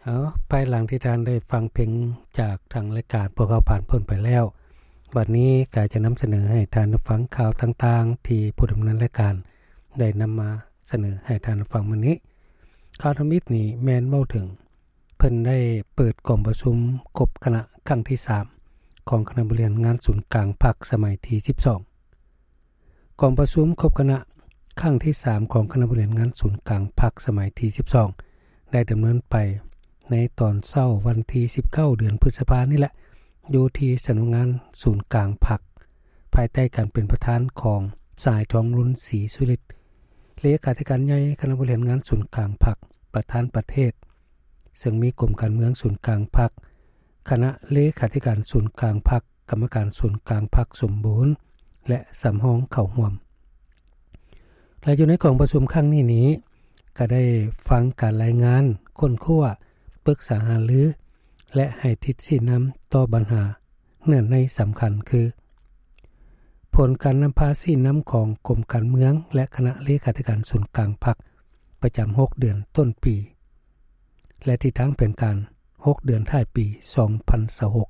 ເອົາ, ພາຍຫຼັງທີ່ທ່ານໄດ້ຟັງເພງຈາກທາງລາຍການພວກເຮົາຜ່ານພົ້ນໄປແລ້ວ, ບັດນີ້ກໍຈະນຳສະເໜີໃຫ້ທ່ານໄດ້ຟັງຂ່າວຕ່າງໆ ທີ່ຜູ້ດຳເນີນລາຍການໄດ້ນຳມາສະເໜີໃຫ້ທ່ານໄດ້ຟັງມື້ນີ້. ຂ່າວທຳອິດນີ້ແມ່ນເວົ້າເຖິງ ເພິ່ນໄດ້ເປີດກອງປະຊຸມຄົບຄະນະຄັ້ງທີສາມ ຂອງຄະນະບໍລິຫານງານສູນກາງພັກສະໄໝທີສິບສອງ. ກອງປະຊຸມຄົບຄະນະຄັ້ງທີສາມ ຂອງຄະນະບໍລິຫານງານສູນກາງພັກສະໄໝທີສິບສອງ ໄດ້ດຳເນີນໄປໃນຕອນເຊົ້າວັນທີສິບເກົ້າ ເດືອນພຶດສະພານີ້ແຫຼະ ຢູ່ທີ່ສຳນັກງານສູນກາງພັກ ພາຍໃຕ້ການເປັນປະທານຂອງສະຫາຍ ທອງລຸນ ສີສຸລິດ ເລຂາທິການໃຫຍ່ຄະນະບໍລິຫານງານສູນກາງພັກ ປະທານປະເທດ, ເຊິ່ງມີກົມການເມືອງສູນກາງພັກ, ຄະນະເລຂາທິການສູນກາງພັກ, ກຳມະການສູນກາງພັກສົມບູນ ແລະ ສຳຮອງເຂົ້າຮ່ວມ. ແລະ ຢູ່ໃນກອງປະຊຸມຄັ້ງນີ້ນີ້ ກໍໄດ້ຟັງການລາຍງານ, ຄົ້ນຄວ້າ, ປຶກສາຫາລື ແລະ ໃຫ້ທິດຊີ້ນຳຕໍ່ບັນຫາເນື້ອໃນສຳຄັນຄື ຜົນການນຳພາຊີ້ນຳຂອງກົມການເມືອງ ແລະ ຄະນະເລຂາທິການສູນກາງພັກ ປະຈຳຫົກເດືອນຕົ້ນປີ ແລະ ທິດທາງແຜນການຫົກເດືອນທ້າຍປີສອງພັນຊາວຫົກ.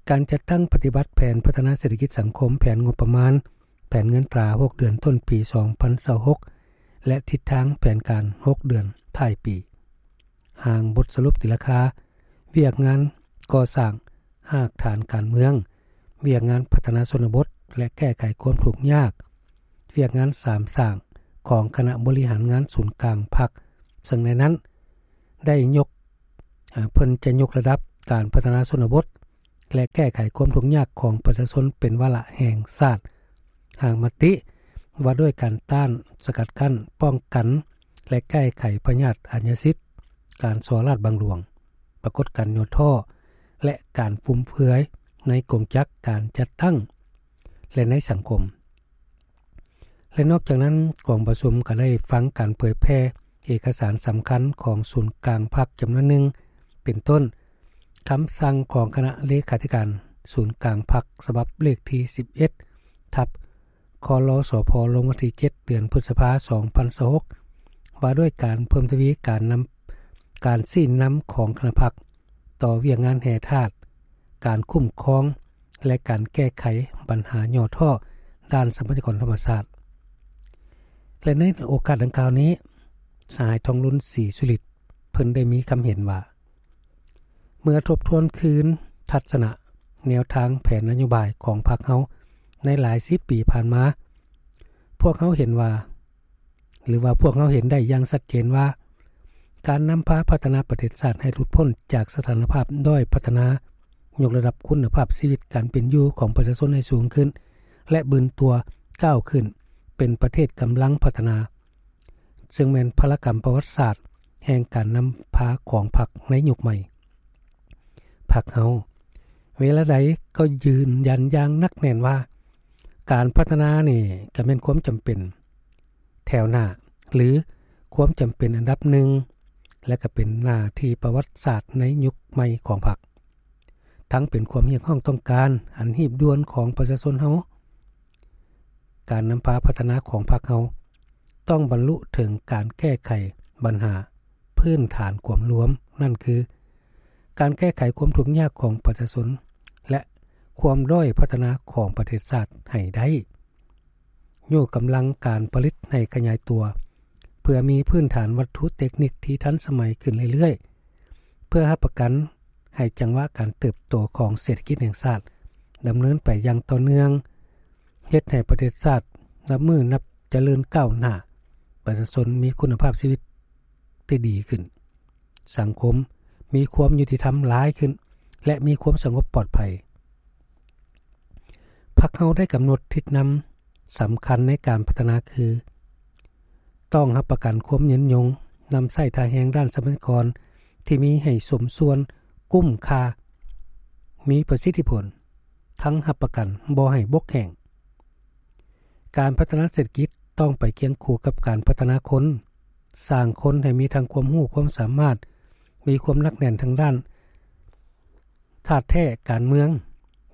ການຈັດຕັ້ງປະຕິບັດແຜນພັດທະນາເສດຖະກິດສັງຄົມ, ແຜນງົບປະມານ, ແຜນເງິນຕາຫົກເດືອນຕົ້ນປີສອງພັນຊາວຫົກ ແລະ ທິດທາງແຜນການຫົກເດືອນທ້າຍປີ. ຮ່າງບົດສະຫຼຸບຕີລາຄາ, ວຽກງານກໍ່ສ້າງຮາກຖານການເມືອງ, ວຽກງານພັດທະນາຊົນນະບົດ ແລະ ແກ້ໄຂຄວາມທຸກຍາກ, ວຽກງານສາມສ້າງຂອງຄະນະບໍລິຫານງານສູນກາງພັກ, ເຊິ່ງໃນນັ້ນໄດ້ຍົກ, ເພິ່ນຈະຍົກລະດັບການພັດທະນາຊົນນະບົດ ແລະ ແກ້ໄຂຄວາມທຸກຍາກຂອງປະຊາຊົນເປັນວາລະແຫ່ງຊາດ, ຮ່າງມະຕິວ່າດ້ວຍການຕ້ານ, ສະກັດກັ້ນ, ປ້ອງກັນ ແລະ ແກ້ໄຂພະຍາດອາຍາສິດ, ການສໍ້ລາດບັງຫຼວງ, ປາກົດການຫຍໍ້ທໍ້ ແລະ ການຟຸມເຟືອຍໃນກົງຈັກການຈັດຕັ້ງ ແລະ ໃນສັງຄົມ. ແລະ ນອກຈາກນັ້ນ, ກອງປະຊຸມກໍໄດ້ຟັງການເຜີຍແຜ່ເອກະສານສຳຄັນຂອງສູນກາງພັກຈຳນວນໜຶ່ງ, ເປັນຕົ້ນ ຄຳສັ່ງຂອງຄະນະເລຂາທິການສູນກາງພັກ ສະບັບເລກທີສິບເອັດ ທັບ ຄລສພ ລົງວັນທີເຈັດ ເດືອນພຶດສະພາ ສອງພັນຊາວຫົກ ວ່າດ້ວຍການເພີ່ມທະວີການນຳ, ການຊີ້ນຳຂອງຄະນະພັກ ຕໍ່ວຽກງານແຮ່ທາດ, ການຄຸ້ມຄອງ ແລະ ການແກ້ໄຂບັນຫາຫຍໍ້ທໍ້ດ້ານຊັບພະຍາກອນທຳມະຊາດ. ແລະ ໃນໂອກາດດັ່ງກ່າວນີ້, ສະຫາຍ ທອງລຸນ ສີສຸລິດ ເພິ່ນໄດ້ມີຄຳເຫັນວ່າ, ເມື່ອທົບທວນຄືນທັດສະນະແນວທາງແຜນນະໂຍບາຍຂອງພັກເຮົາໃນຫຼາຍສິບປີຜ່ານມາ, ພວກເຮົາເຫັນວ່າ ຫຼືວ່າພວກເຮົາເຫັນໄດ້ຢ່າງຊັດເຈນວ່າ ການນຳພາພັດທະນາປະເທດຊາດໃຫ້ຫຼຸດພົ້ນຈາກສະຖານະພາບດ້ອຍພັດທະນາ, ຍົກລະດັບຄຸນນະພາບຊີວິດການເປັນຢູ່ຂອງປະຊາຊົນໃຫ້ສູງຂຶ້ນ ແລະ ບືນຕົວກ້າວຂຶ້ນເປັນປະເທດກຳລັງພັດທະນາ, ເຊິ່ງແມ່ນພາລະກຳປະຫວັດສາດແຫ່ງການນຳພາຂອງພັກໃນຍຸກໃໝ່. ພັກເຮົາເວລາໃດກໍຢືນຢັນຢ່າງໜັກແໜ້ນວ່າ ການພັດທະນານີ້ກໍແມ່ນຄວາມຈຳເປັນ ແຖວໜ້າ ຫຼື ຄວາມຈຳເປັນອັນດັບໜຶ່ງ ແລະ ກໍເປັນໜ້າທີ່ປະຫວັດສາດໃນຍຸກໃໝ່ຂອງພັກ, ທັງເປັນຄວາມຮຽກຮ້ອງຕ້ອງການອັນຮີບດ່ວນຂອງປະຊາຊົນເຮົາ. ການນຳພາພັດທະນາຂອງພັກເຮົາຕ້ອງບັນລຸເຖິງການແກ້ໄຂບັນຫາພື້ນຖານຄວາມລວມ, ນັ້ນຄື ການແກ້ໄຂຄວາມທຸກຍາກຂອງປະຊາຊົນ ແລະ ຄວາມດ້ອຍພັດທະນາຂອງປະເທດຊາດໃຫ້ໄດ້. ຍົກກຳລັງການຜະລິດໃຫ້ຂະຫຍາຍຕົວ ເພື່ອມີພື້ນຖານວັດຖຸເຕັກນິກທີ່ທັນສະໄໝຂຶ້ນເລື້ອຍໆ, ເພື່ອຮັບປະກັນໃຫ້ຈັງຫວະການເຕີບໂຕຂອງເສດຖະກິດແຫ່ງຊາດດຳເນີນໄປຢ່າງຕໍ່ເນື່ອງ, ເຮັດໃຫ້ປະເທດຊາດນັບມື້ນັບຈະເລີນກ້າວໜ້າ, ປະຊາຊົນມີຄຸນນະພາບຊີວິດທີ່ດີຂຶ້ນ, ສັງຄົມມີຄວາມຍຸຕິທຳຫຼາຍຂຶ້ນ ແລະ ມີຄວາມສະຫງົບປອດໄພ. ພັກເຮົາໄດ້ກຳນົດທິດນຳສຳຄັນໃນການພັດທະນາຄື ຕ້ອງຮັບປະກັນຄວາມຍືນຍົງ, ນຳໃຊ້ທ່າແຮງດ້ານຊັບພະຍາກອນທີ່ມີໃຫ້ສົມສ່ວນ, ກຸ້ມຄ່າ, ມີປະສິດທິຜົນ, ທັງຮັບປະກັນບໍ່ໃຫ້ບົກແຫ້ງ. ການພັດທະນາເສດຖະກິດຕ້ອງໄປຄຽງຄູ່ກັບການພັດທະນາຄົນ, ສ້າງຄົນໃຫ້ມີທັງຄວາມຮູ້ຄວາມສາມາດ, ມີຄວາມໜັກແໜ້ນທາງດ້ານ ທາດແທ້ການເມືອງ,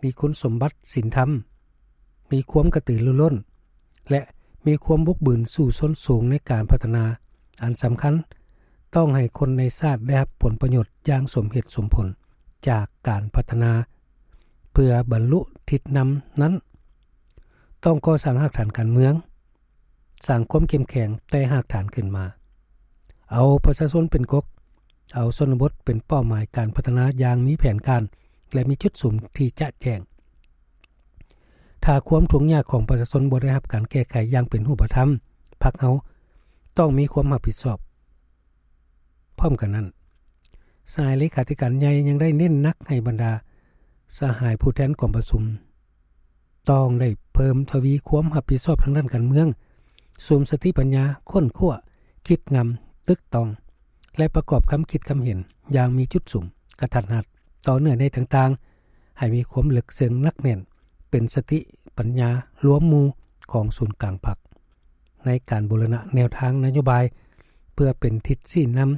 ມີຄຸນສົມບັດສິນທຳ, ມີຄວາມກະຕືລືລົ້ນ ແລະ ມີຄວາມບຸກບືນສູ້ຊົນສູງໃນການພັດທະນາ. ອັນສຳຄັນ, ຕ້ອງໃຫ້ຄົນໃນຊາດໄດ້ຮັບຜົນປະໂຫຍດຢ່າງສົມເຫດສົມຜົນຈາກການພັດທະນາ ເພື່ອບັນລຸທິດນຳນັ້ນ ຕ້ອງກໍ່ສ້າງຮາກຖານການເມືອງ, ສ້າງຄວາມເຂັ້ມແຂງແຕ່ຮາກຖານຂຶ້ນມາ, ເອົາປະຊາຊົນເປັນກົກ, ເອົາຊົນນະບົດເປັນເປົ້າໝາຍການພັດທະນາຢ່າງມີແຜນການ ແລະ ມີຈຸດສຸມທີ່ຈະແຈ້ງ. ຖ້າຄວາມທຸກຍາກຂອງປະຊາຊົນບໍ່ໄດ້ຮັບການແກ້ໄຂຢ່າງເປັນຮູບປະທຳ, ພັກເຮົາຕ້ອງມີຄວາມຮັບຜິດຊອບ. ພ້ອມກັນນັ້ນ, ສະຫາຍເລຂາທິການໃຫຍ່ຍັງໄດ້ເນັ້ນໜັກໃຫ້ບັນດາສະຫາຍຜູ້ແທນກອງປະຊຸມ ຕ້ອງໄດ້ເພີ່ມທະວີຄວາມຮັບຜິດຊອບທາງດ້ານການເມືອງ, ສຸມສະຕິປັນຍາ, ຄົ້ນຄວ້າ, ຄິດງຳ, ຕຶກຕອງ ແລະ ປະກອບຄຳຄິດຄຳເຫັນຢ່າງມີຈຸດສຸມ, ກະທັດຮັດ, ຕໍ່ເນື້ອໃນຕ່າງໆ, ໃຫ້ມີຄວາມເລິກເຊິ່ງໜັກແໜ້ນ, ເປັນສະຕິປັນຍາລວມໝູ່ຂອງສູນກາງພັກ ໃນການບູລະນະແນວທາງນະໂຍບາຍ ເພື່ອເປັນທິດຊີ້ນຳ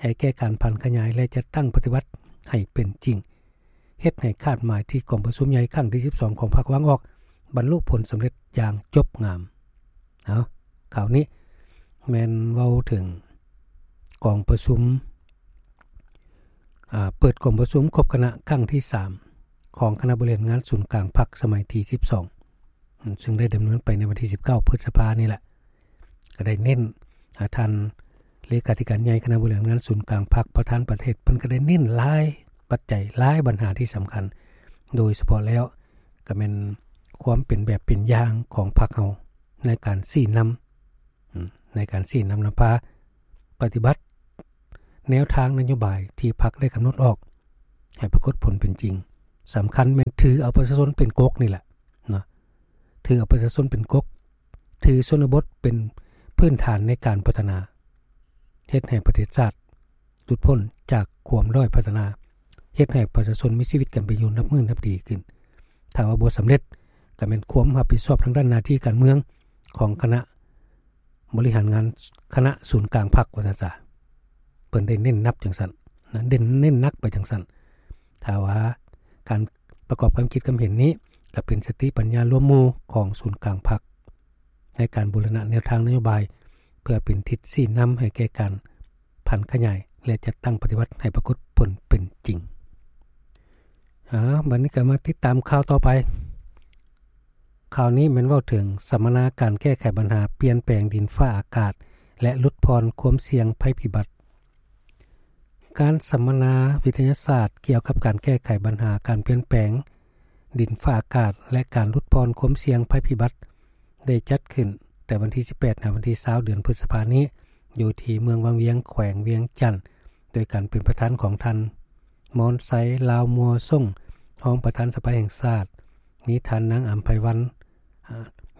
ໃຫ້ແກ່ການຜັນຂະຫຍາຍ ແລະ ຈັດຕັ້ງປະຕິບັດໃຫ້ເປັນຈິງ, ເຮັດໃຫ້ຄາດໝາຍທີ່ກອງປະຊຸມໃຫຍ່ຄັ້ງທີສິບສອງຂອງພັກວາງອອກ ບັນລຸຜົນສຳເລັດຢ່າງຈົບງາມ. ເອົາ, ຂ່າວນີ້ແມ່ນເວົ້າເຖິງກອງປະຊຸມ, ອາ, ເປີດກອງປະຊຸມຄົບຄະນະຄັ້ງທີສາມຂອງຄະນະບໍລິຫານງານສູນກາງພັກສະໄໝທີສິບສອງ ຊຶ່ງໄດ້ດຳເນີນໄປໃນວັນທີສິບເກົ້າ ພຶດສະພານີ້ແຫຼະ, ກໍໄດ້ເນັ້ນ, ອາ, ທ່ານເລຂາທິການໃຫຍ່ຄະນະບໍລິຫານງານສູນກາງພັກ ປະທານປະເທດ ເພິ່ນກໍໄດ້ເນັ້ນຫຼາຍປັດໄຈ, ຫຼາຍບັນຫາທີ່ສຳຄັນ, ໂດຍສະເພາະແລ້ວກໍແມ່ນຄວາມເປັນແບບເປັນຢ່າງຂອງພັກເຮົາໃນການຊີ້ນຳ, ໃນການຊີ້ນຳນຳພາປະຕິບັດແນວທາງນະໂຍບາຍທີ່ພັກໄດ້ກຳນົດອອກໃຫ້ປາກົດຜົນເປັນຈິງ. ສຳຄັນແມ່ນຖືເອົາປະຊາຊົນເປັນກົກນີ້ແຫຼະເນາະ, ຖືເອົາປະຊາຊົນເປັນກົກ, ຖືຊົນນະບົດເປັນພື້ນຖານໃນການພັດທະນາ, ເຮັດໃຫ້ປະເທດຊາດຫຼຸດພົ້ນຈາກຄວາມດ້ອຍພັດທະນາ, ເຮັດໃຫ້ປະຊາຊົນມີຊີວິດການເປັນຢູ່ນັບມື້ນັບດີຂຶ້ນ. ຖ້າວ່າບໍ່ສຳເລັດ, ກໍແມ່ນຄວາມຮັບຜິດຊອບທາງດ້ານໜ້າທີ່ການເມືອງຂອງຄະນະ ບໍລິຫານງານຄະນະສູນກາງພັກ ວ່າຊັ້ນຊະ, ເພິ່ນໄດ້ເນັ້ນໜັກຈັ່ງຊັ້ນນະ, ເນັ້ນ, ເນັ້ນໜັກໄປຈັ່ງຊັ້ນ. ຖ້າວ່າການປະກອບຄຳຄິດຄຳເຫັນນີ້ ກໍເປັນສະຕິປັນຍາລວມໝູ່ຂອງສູນກາງພັກ ໃນການບູລະນະແນວທາງນະໂຍບາຍ ເພື່ອເປັນທິດຊີ້ນຳໃຫ້ແກ່ການຜັນຂະຫຍາຍ ແລະ ຈັດຕັ້ງປະຕິບັດໃຫ້ປາກົດຜົນເປັນຈິງ. ອາ, ບັດນີ້ກໍມາຕິດຕາມຂ່າວຕໍ່ໄປ. ຂ່າວນີ້ແມ່ນເວົ້າເຖິງສຳມະນາການແກ້ໄຂບັນຫາປ່ຽນແປງດິນຟ້າອາກາດ ແລະ ຫຼຸດຜ່ອນຄວາມສ່ຽງໄພພິບັດ. ການສຳມະນາວິທະຍາສາດກ່ຽວກັບການແກ້ໄຂບັນຫາການປ່ຽນແປງດິນຟ້າອາກາດ ແລະ ການຫຼຸດຜ່ອນຄວາມສ່ຽງໄພພິບັດ ໄດ້ຈັດຂຶ້ນແຕ່ວັນທີສິບແປດ ຫາວັນທີຊາວ ເດືອນພຶດສະພານີ້ ຢູ່ທີ່ເມືອງວັງວຽງ ແຂວງວຽງຈັນ ໂດຍການເປັນປະທານຂອງທ່ານ ມອນໄຊ ລາວມົວສົງ ຮອງປະທານສະພາແຫ່ງຊາດ, ມີທ່ານນາງອຳໄພວັນ,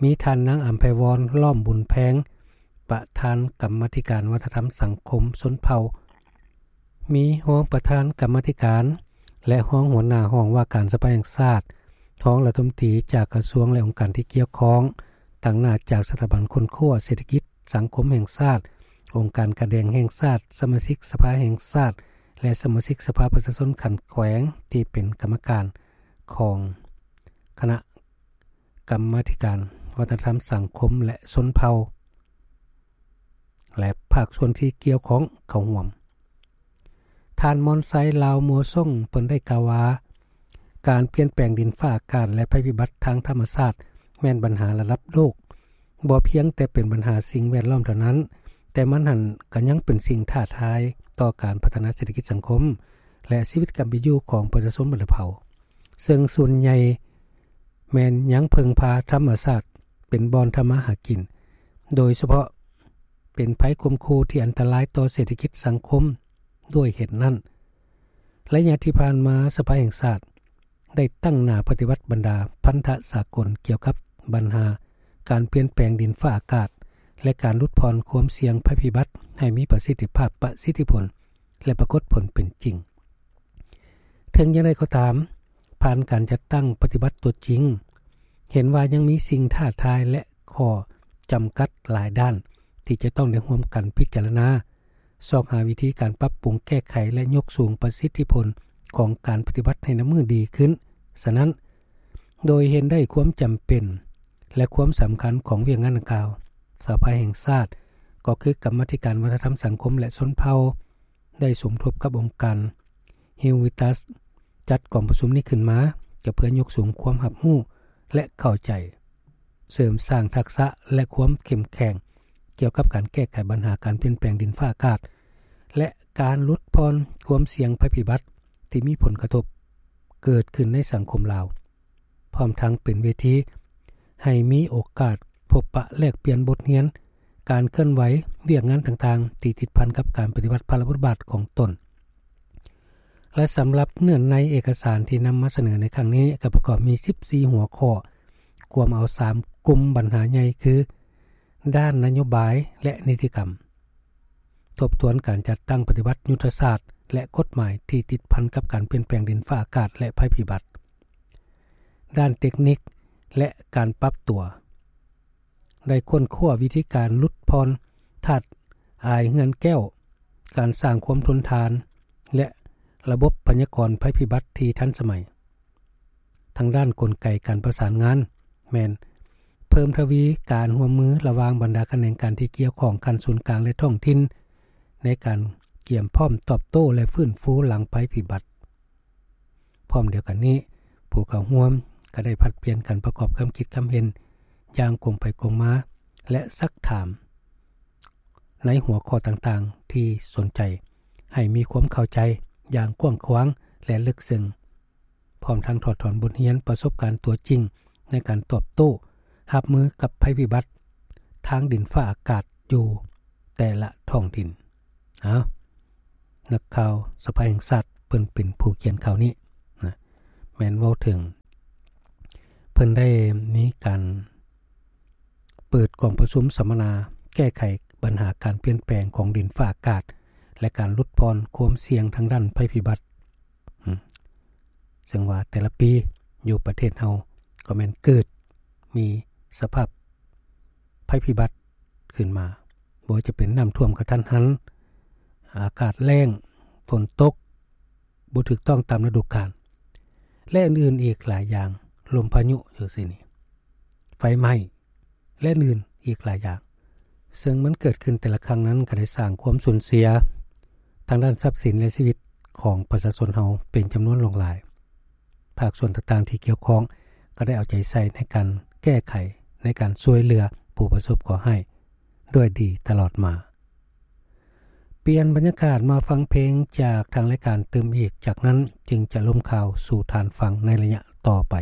ມີທ່ານນາງອຳໄພວອນ ລ້ອມບຸນແພງ ປະທານກຳມາທິການວັດທະນະທຳສັງຄົມຊົນເຜົ່າ, ມີຮອງປະທານກຳມາທິການ ແລະ ຮອງຫົວໜ້າຫ້ອງວ່າການສະພາແຫ່ງຊາດ, ຮອງລັດຖະມົນຕີຈາກກະຊວງ ແລະ ອົງການທີ່ກ່ຽວຂ້ອງ, ຕາງໜ້າຈາກສະຖາບັນຄົ້ນຄວ້າເສດຖະກິດ ສັງຄົມແຫ່ງຊາດ, ອົງການການແດງແຫ່ງຊາດ, ສະມາຊິກສະພາແຫ່ງຊາດ ແລະ ສະມາຊິກສະພາປະຊາຊົນຂັ້ນແຂວງທີ່ເປັນກຳມະການຂອງຄະນະກຳມາທິການວັດທະນະທຳສັງຄົມ ແລະ ຊົນເຜົ່າ ແລະ ພາກສ່ວນທີ່ກ່ຽວຂ້ອງເຂົ້າຮ່ວມ. ທ່ານ ມອນໄຊ ລາວມົວສົງ ເພິ່ນໄດ້ກ່າວວ່າ ການປ່ຽນແປງດິນຟ້າອາກາດ ແລະ ໄພພິບັດທາງທຳມະຊາດ ແມ່ນບັນຫາລະດັບໂລກ, ບໍ່ພຽງແຕ່ເປັນບັນຫາສິ່ງແວດລ້ອມເທົ່ານັ້ນ, ແຕ່ມັນຫັ້ນກໍຍັງເປັນສິ່ງທ້າທາຍຕໍ່ການພັດທະນາເສດຖະກິດສັງຄົມ ແລະ ຊີວິດການເປັນຢູ່ຂອງປະຊາຊົນບັນດາເຜົ່າ, ເຊິ່ງສ່ວນໃຫຍ່ແມ່ນຍັງເພິ່ງພາທຳມະຊາດເປັນບ່ອນທຳມາຫາກິນ, ໂດຍສະເພາະ ເປັນໄພຂົ່ມຂູ່ທີ່ອັນຕະລາຍຕໍ່ເສດຖະກິດສັງຄົມ. ດ້ວຍເຫດນັ້ນ, ໄລຍະທີ່ຜ່ານມາ ສະພາແຫ່ງຊາດໄດ້ຕັ້ງໜ້າປະຕິບັດບັນດາພັນທະສາກົນກ່ຽວກັບບັນຫາການປ່ຽນແປງດິນຟ້າອາກາດ ແລະ ການຫຼຸດຜ່ອນຄວາມສ່ຽງໄພພິບັດໃຫ້ມີປະສິດທິພາບ, ປະສິດທິຜົນ ແລະ ປາກົດຜົນເປັນຈິງ. ເຖິງຢ່າງໃດກໍຕາມ, ຜ່ານການຈັດຕັ້ງປະຕິບັດຕົວຈິງ, ເຫັນວ່າຍັງມີສິ່ງທ້າທາຍ ແລະ ຂໍ້ຈຳກັດຫຼາຍດ້ານທີ່ຈະຕ້ອງໄດ້ຮ່ວມກັນພິຈາລະນາ, ຊອກຫາວິທີການປັບປຸງແກ້ໄຂ ແລະ ຍົກສູງປະສິດທິຜົນຂອງການປະຕິບັດໃຫ້ນັບມື້ດີຂຶ້ນ. ສະນັ້ນ, ໂດຍເຫັນໄດ້ຄວາມຈຳເປັນ ແລະ ຄວາມສຳຄັນຂອງວຽກງານດັ່ງກ່າວ, ສະພາແຫ່ງຊາດ ກໍຄືກຳມາທິການວັດທະນະທຳສັງຄົມ ແລະ ຊົນເຜົ່າ ໄດ້ສົມທົບກັບອົງການ Hill Vitas ຈັດກອງປະຊຸມນີ້ຂຶ້ນມາ ກໍເພື່ອຍົກສູງຄວາມຮັບຮູ້ ແລະ ເຂົ້າໃຈ, ເສີມສ້າງທັກສະ ແລະ ຄວາມເຂັ້ມແຂງ ກ່ຽວກັບການແກ້ໄຂບັນຫາການປ່ຽນແປງດິນຟ້າອາກາດ ແລະ ການຫຼຸດຜ່ອນຄວາມສ່ຽງໄພພິບັດທີ່ມີຜົນກະທົບເກີດຂຶ້ນໃນສັງຄົມລາວ, ພ້ອມທັງເປັນເວທີໃຫ້ມີໂອກາດພົບປະແລກປ່ຽນບົດຮຽນ, ການເຄື່ອນໄຫວ, ວຽກງານຕ່າງໆທີ່ຕິດພັນກັບການປະຕິບັດພາລະບົດບາດຂອງຕົນ. ແລະ ສຳລັບເນື້ອໃນເອກະສານທີ່ນຳມາສະເໜີໃນຄັ້ງນີ້ ກໍປະກອບມີສິບສີ່ຫົວຂໍ້, ກວມເອົາສາມກຸ່ມບັນຫາໃຫຍ່ຄື ດ້ານນະໂຍບາຍ ແລະ ນິຕິກຳ, ທົບທວນການຈັດຕັ້ງປະຕິບັດຍຸດທະສາດ ແລະ ກົດໝາຍທີ່ຕິດພັນກັບການປ່ຽນແປງດິນຟ້າອາກາດ ແລະ ໄພພິບັດ, ດ້ານເຕັກນິກ ແລະ ການປັບຕົວ, ໄດ້ຄົ້ນຄວ້າວິທີການຫຼຸດຜ່ອນທາດອາຍເຮືອນແກ້ວ, ການສ້າງຄວາມທົນທານ ແລະ ລະບົບພະຍາກອນໄພພິບັດທີ່ທັນສະໄໝ. ທາງດ້ານກົນໄກການປະສານງານ ແມ່ນເພີ່ມທະວີການຮ່ວມມືລະຫວ່າງບັນດາຂະແໜງການທີ່ກ່ຽວຂ້ອງຂັ້ນສູນກາງ ແລະ ທ້ອງຖິ່ນ ໃນການກຽມພ້ອມຕອບໂຕ້ ແລະ ຟື້ນຟູຫຼັງໄພພິບັດ. ພ້ອມດຽວກັນນີ້, ຜູ້ເຂົ້າຮ່ວມກໍໄດ້ຜັດປ່ຽນກັນປະກອບຄຳຄິດຄຳເຫັນຢ່າງກົງໄປກົງມາ ແລະ ຊັກຖາມໃນຫົວຂໍ້ຕ່າງໆທີ່ສົນໃຈ ໃຫ້ມີຄວາມເຂົ້າໃຈຢ່າງກວ້າງຂວາງ ແລະ ເລິກເຊິ່ງ, ພ້ອມທັງຖອດຖອນບົດຮຽນປະສົບການຕົວຈິງໃນການຕອບໂຕ້ຮັບມືກັບໄພພິບັດທາງດິນຟ້າອາກາດຢູ່ແຕ່ລະທ້ອງຖິ່ນ. ເອົາ, ນັກຂ່າວສະພາແຫ່ງຊາດເພິ່ນເປັນຜູ້ຂຽນຂ່າວນີ້ນະ, ແມ່ນເວົ້າເຖິງເພິ່ນໄດ້ມີການເປີດກອງປະຊຸມສຳມະນາແກ້ໄຂບັນຫາການປ່ຽນແປງຂອງດິນຟ້າອາກາດ ແລະ ການຫຼຸດຜ່ອນຄວາມສ່ຽງທາງດ້ານໄພພິບັດ. ອືມ ເຊິ່ງວ່າແຕ່ລະປີຢູ່ປະເທດເຮົາກໍແມ່ນເກີດມີສະພາບໄພພິບັດຂຶ້ນມາ, ບໍ່ວ່າຈະເປັນນ້ຳຖ້ວມກະທັນຫັນ, ອາກາດແລ້ງ, ຝົນຕົກບໍ່ຖືກຕ້ອງຕາມລະດູການ ແລະ ອື່ນໆອີກຫຼາຍຢ່າງ, ລົມພາຍຸຈັ່ງຊີ້ນີ້, ໄຟໄໝ້ ແລະ ອື່ນໆອີກຫຼາຍຢ່າງ, ເຊິ່ງມັນເກີດຂຶ້ນແຕ່ລະຄັ້ງນັ້ນກໍໄດ້ສ້າງຄວາມສູນເສຍທາງດ້ານຊັບສິນ ແລະ ຊີວິດຂອງປະຊາຊົນເຮົາເປັນຈຳນວນຫຼວງຫຼາຍ. ພາກສ່ວນຕ່າງໆທີ່ກ່ຽວຂ້ອງກໍໄດ້ເອົາໃຈໃສ່ໃນການແກ້ໄຂ, ໃນການຊ່ວຍເຫຼືອຜູ້ປະສົບເຄາະຮ້າຍດ້ວຍດີຕະຫຼອດມາ. ປ່ຽນບັນຍາກາດມາຟັງເພງຈາກທາງລາຍການຕື່ມອີກ, ຈາກນັ້ນຈຶ່ງຈະລົມຂ່າວສູ່ທ່ານຟັງໃນໄລຍະຕໍ່ໄປ.